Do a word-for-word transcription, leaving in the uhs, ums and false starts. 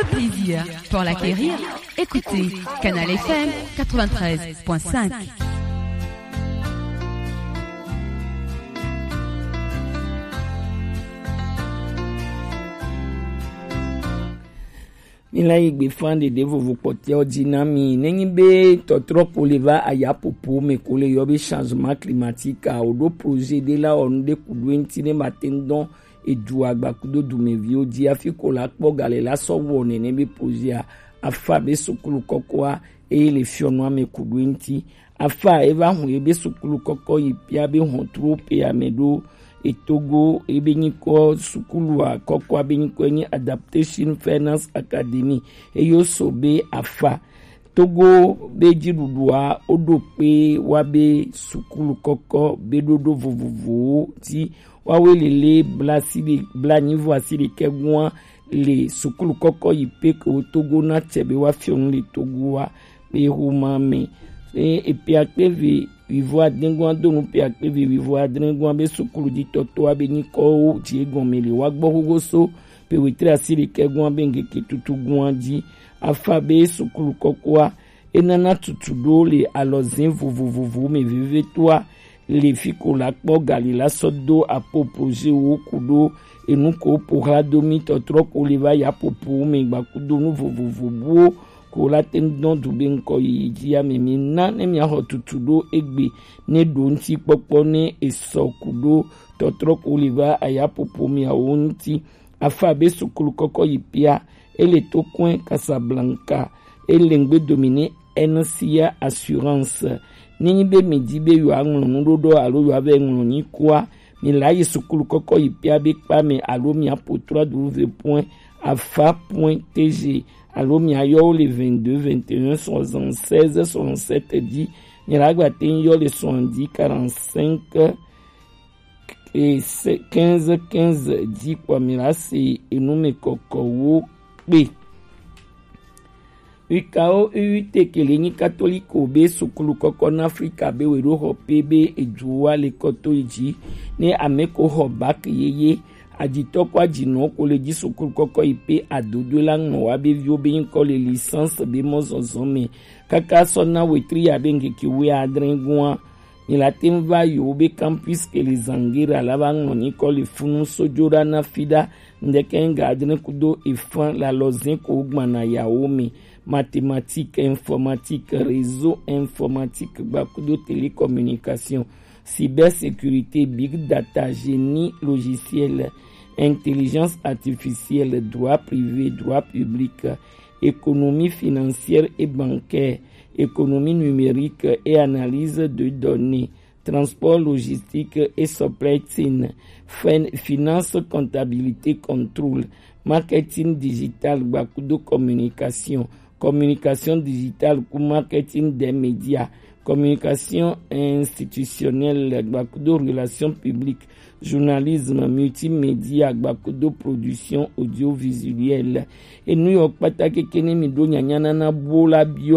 Le plaisir pour l'acquérir, écoutez Canal F M quatre-vingt-treize point cinq. Mi la yi gbe fan ɖeɖe vovo kpɔtɛwo ji na mi. Nenyi be tɔtrɔ ko le va ayapopo me ko le yɔ be changement climatique a, o ɖo projet ɖe la wɔ nu ɖe ku ɖo eŋti ne ma te ŋu dɔn edu agba kudo dumeviwo ji hafi ko la kpɔ gale la sɔ wɔ nene be projet a. Afa be sukulu kɔkɔa eye le fiɔnua me ku ɖo eŋti. Afa eva hun ye be sukulu kɔkɔ yi pia be hɔntru pe ame ɖo etogo ebe nyikɔ sukulu a kɔkɔa be nyikɔ nyi Adaptation Finance Academy. Eyo so be afa Togo be jiɖuɖua woɖo kpe wa be sukulu kɔkɔ be ɖoɖo vovovowo ti wawe lele bla si ɖe bla nyivo asi ɖekɛ gua le sukulu kɔkɔ yi pe ke wo Togo na tsɛ be wa fiɔ nu le Togo wa be xoma me. E epia kpe ve wivo adre gua do nu pia kpe ve wivo adre gua be sukulu jitɔtoa be nyikɔwo ji egɔme le wa gbɔ xoxo so pe wetre asi ɖekɛ gua be ŋkeke tutu gua ji. Afa be sukulu kɔkɔa enana tutu ɖo le alɔzɛn vovovovo me vevetoa le fi ko la kpɔ gali la sɔ do apo projet wo ku ɖo enu ko po hla do mi tɔtrɔ ko le va ya popo me gba ku do nu vovovo buwo ko la te ŋu dɔn du be ŋkɔ yiyi ji ame mi na ne mi axɔ tutu ɖo egbe ne ɖo ŋuti kpɔkpɔ ne esɔ ku ɖo tɔtrɔ ko le va aya popo miawo ŋuti. Afa be sukulu kɔkɔ yi pia, ele to kɔe Casablanca, ele ŋgbe domine N C A Assurance. Nenyi be mi di be yewoaŋlɔ nuɖoɖo alo yewoavɛ ŋlɔ nyikoa, mi la yi sukulu kɔkɔ yi pia be kpa me alo mi apo trois W point afa point T G alo mi ayɔ wo le vingt-deux vingt et un soixante-seize soixante-sept di. Mi la gba te ŋu yɔ le soixante-dix quarante-cinq e se quinze quinze di kpɔ mi la se enu me kɔkɔwo kpe. Wikao U U T ke le nyi katoliko be sukulu kɔkɔ na Afrika be we ɖo xɔ pe be eduwa le kɔto yi ji ne ame ko xɔ bak yeye ajitɔ ko ajinɔ ko le ji sukulu kɔkɔ yi pe adodo la ŋlɔ wa be viwo be nyikɔ le licence be mɔzɔzɔ me kaka sɔ na wetri ya be ŋkeke wuiadre gua. Mi la te ŋu va yi wobe campus ke le Zangera la va ŋlɔ nyikɔ le funu sojo ɖa na fi ɖa ŋdeke ŋga adre kudo efan le alɔzẽ ko wogbana yawo me. Mathématiques, informatique, réseau informatique gba kudo télécommunication, cybersécurité, big data, génie logiciel, intelligence artificielle, droit privé, droit public, économie financière et bancaire, économie numérique et analyse de données, transport logistique et supply chain, fin- finance, comptabilité, contrôle, marketing digital gba kudo communication, communication digitale ku marketing des médias, communication institutionnelle gba kudo relations publiques, journalisme, multimédia gba kudo production audiovisuelle. Enu yɔ kpata keke ne mi ɖo nyanya nana bo la biɔ